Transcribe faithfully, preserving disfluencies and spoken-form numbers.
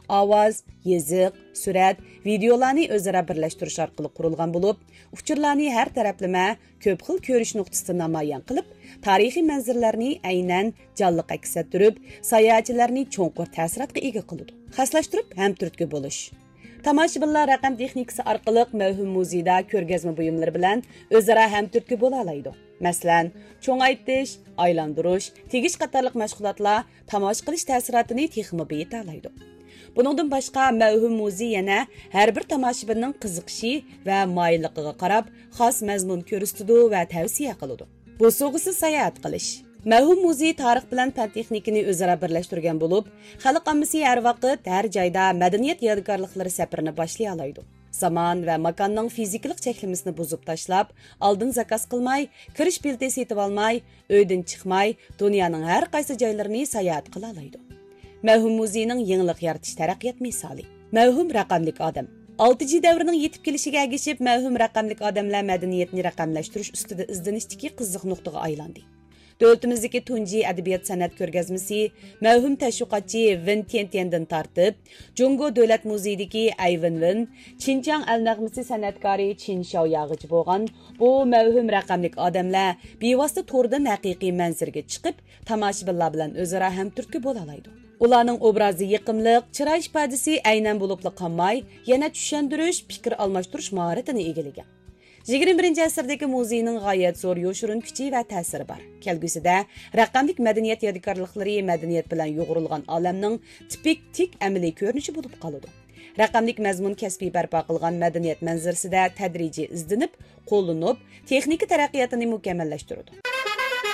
ئاۋاز، يېزىق، سۈرەت، ۋىدېئولارنى ئۆزئارا بىرلەشتۈرۈش ئارقىلىق قۇرۇلغان بولۇپ، ئۇچۇرلارنى ھەر تەرەپلىمە، كۆپ خىل كۆرۈش نۇقتىسىدا نامايان قىلىپ، تارىخىي مەنزىرىلەرنى ئەينەن جانلىق ئەكس ئەتتۈرۈپ، ساياھەتچىلەرنى چوڭقۇر تەسىراتقا ئىگە قىلىدۇ. خاسلاشتۇرۇپ ھەم تۈرتكە بولۇش. تاماشىبىنلار رەقەم تېخنىكىسى ئارقىلىق مەۋھۇم مۇزېيدا كۆرگەزمە بۇيۇملىرى بىلەن ئۆزئارا ھەم تۈرتكە بولالايدۇ. مەسىلەن، چوڭايتىش، ئايلاندۇرۇش، تېگىش قاتارلىق مەشغۇلاتلار تاماشا قىلىش تەسىراتىنى تېخىمۇ بېيىتالايدۇ. بۇنىڭدىن باشقا، مەۋھۇم مۇزېي يەنە ھەر بىر تاماشىبىننىڭ قىزىقىشى ۋە مايىللىقىغا قاراپ، خاس مەزمۇن كۆرسىتىدۇ ۋە تەۋسىيە قىلىدۇ. بوسۇغىسىز ساياھەت قىلىش. مەۋھۇم مۇزېي تارىخ بىلەن پەن تېخنىكىنى ئۆزئارا بىرلەشتۈرگەن بولۇپ، خەلق ئاممىسى ھەر ۋاقىت، ھەر جايدا مەدەنىيەت يادىكارلىقلىرى سەپىرىنى باشلىيالايدۇ. زامان ۋە ماكاننىڭ فىزىكىلىق چەكلىمىسىنى بۇزۇپ تاشلاپ، ئالدىن زاكاز قىلماي، كىرىش بېلىتى سېتىۋالماي، ئۆيدىن چىقماي، دۇنيانىڭ ھەر قايسى جايلىرىنى ساياھەت قىلالايدۇ. مەۋھۇم مۇزېينىڭ يېڭىلىق يارىتىش تەرەققىيات مىسالى. مەۋھۇم رەقەملىك ئادەم. ئالتە جى دەۋرىنىڭ يېتىپ كېلىشىگە ئەگىشىپ، مەۋھۇم رەقەملىك ئادەملەر مەدەنىيەتنى رەقەملەشتۈرۈش ئۈستىدە ئىزدىنىشتىكى قىزىق نۇقتىغا ئايلاندى. دۆلىتىمىزدىكى تۇنجى ئەدەبىيات سەنئەت كۆرگەزمىسى مەۋھۇم تەشۋىقاتچى ۋېن تيەنتيەندىن تارتىپ، جۇڭگو دۆلەت مۇزېيىدىكى ئەي ۋېنۋېن، چىنجياڭ ئەل نەغمىسى سەنئەتكارى چىن شياۋياغىچە بولغان بۇ مەۋھۇم رەقەملىك ئادەملەر بىۋاسىتە توردىن ھەقىقىي مەنزىرىگە چىقىپ، تاماشىبىنلار بىلەن ئۆزئارا ھەمتۈرتكە بولالايدۇ. ئۇلارنىڭ ئوبرازى يېقىملىق، چىراي ئىپادىسى ئەينەن بولۇپلا قالماي، يەنە چۈشەندۈرۈش، پىكىر ئالماشتۇرۇش ماھارىتىنى ئىگىلىگەن. يىگىرمە بىرىنچى ئەسىردىكى مۇزېينىڭ غايەت زور يوشۇرۇن كۈچى ۋە تەسىرى بار. كەلگۈسىدە رەقەملىك مەدەنىيەت يادىكارلىقلىرى مەدەنىيەت بىلەن يۇغۇرۇلغان ئالەمنىڭ تىپىك تىك ئەمەلىي كۆرۈنۈشى بولۇپ قالىدۇ. رەقەملىك مەزمۇن كەسپىي بەرپا قىلغان مەدەنىيەت مەنزىرىسىدە تەدرىجىي ئىزدىنىپ، قوللىنىپ، تېخنىكا تەرەققىياتىنى مۇكەممەللەشتۈرىدۇ.